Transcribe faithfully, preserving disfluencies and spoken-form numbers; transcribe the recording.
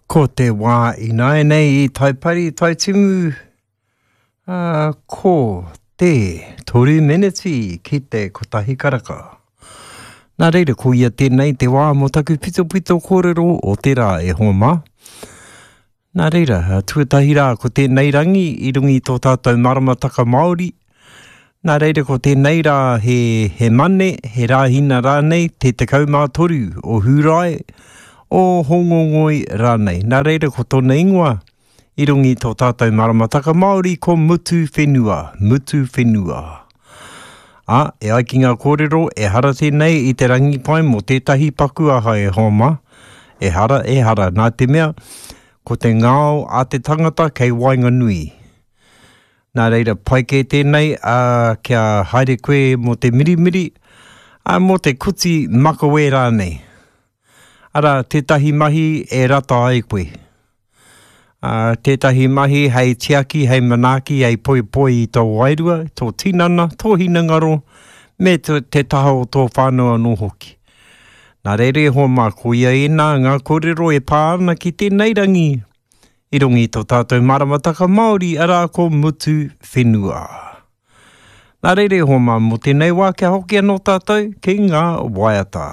Ko te wā ināianei i Taipari, Taitimu, ā, ko te toru meneti ki te kotahi karaka. Nā reira, ko ia tēnei te wā mō taku pitopito kōrero o te rā e hoa mā. Nā reira, tuatahi rā ko tēnei rangi i runga i tō tātou maramataka Māori. Nā reira ko tēnei rā he, he mane, he rāhina rānei, te tekau mā toru o Hūrae, o Hōngongoi rānei. Nā reira ko tōna ingoa i runga i tō tātou maramataka Māori ko Mutu Whenua, Mutu Whenua. Ā, e ai ki ngā kōrero, ehara tēnei i te rangi pai mō tētahi paku aha e hoa mā. Ehara, ehara, nā te mea, ko te ngao a te tangata kei waenganui. Nā reira, pai kē tēnei, ā, kia haere koe mō te mirimiri, ā, mō te kuti makawe rānei. Arā, tētahi mahi e rata ai koe. Ā, tētahi mahi hei tiaki, hei manaaki, hei poipoi i tō wairua, tō tinana, tō hinengaro, me te, te taha o tō whānau anō hoki. Nā reira e hoa mā, koia ēnā ngā kōrero e pā ana ki tēnei rangi i runga i tō tātou maramataka Māori, arā ko Mutu Whenua. Nā reira e hoa mā, mō tēnei wā kia hoki anō tātou ki ngā waiata.